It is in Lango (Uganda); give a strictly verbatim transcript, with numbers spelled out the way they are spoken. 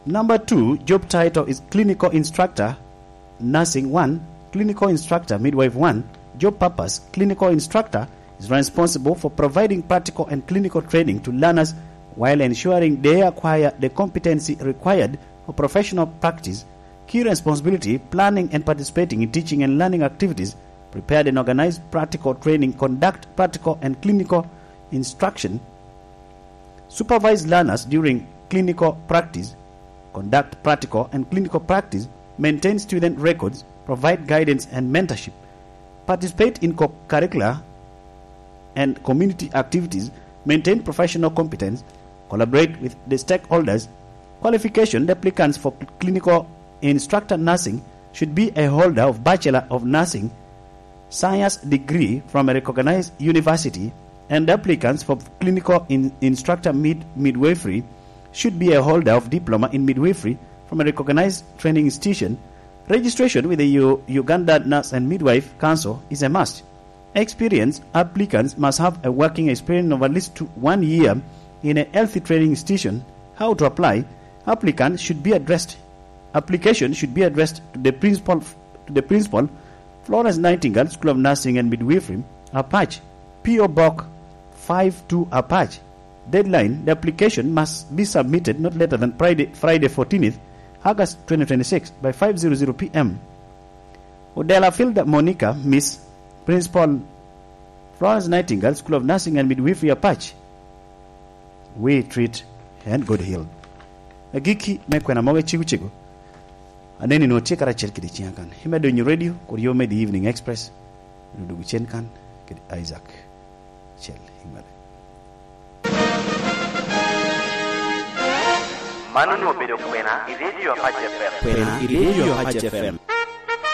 Number two, job title is clinical instructor, nursing one, clinical instructor, midwife one. Job purpose, clinical instructor is responsible for providing practical and clinical training to learners while ensuring they acquire the competency required for professional practice. Key responsibility, planning and participating in teaching and learning activities, prepare and organize practical training, conduct practical and clinical instruction, supervise learners during clinical practice, conduct practical and clinical practice, maintain student records, provide guidance and mentorship, participate in co-curricular and community activities, maintain professional competence, collaborate with the stakeholders. Qualification, the applicants for clinical instructor nursing should be a holder of Bachelor of Nursing science degree from a recognized university, and applicants for clinical in-, instructor mid-, midwifery should be a holder of diploma in midwifery from a recognized training institution. Registration with the U-, Uganda Nurse and Midwife Council is a must. Experience, applicants must have a working experience of at least two, one year in a healthy training institution. How to apply? Applicant should be addressed. Application should be addressed to the principal, to the principal, Florence Nightingale School of Nursing and Midwifery, Apac, P O Box five two Apac. Deadline, the application must be submitted not later than Friday, Friday fourteenth August twenty twenty-six by five zero zero P M. Odela Filda Monica, Miss, Principal, Florence Nightingale School of Nursing and Midwifery, Apac. We treat and God heal. Agikki me kwena mogo ecego cego. Aneni nwoŋo tye karacel kede ciŋa kan. Imedo winyo radio, kur yo me The Evening Express. Odogo cen kan kede Isaac Cel Imale. Mano onwoŋo obedo kwena i Radio Apac F M. Kwena i Radio Apac F M.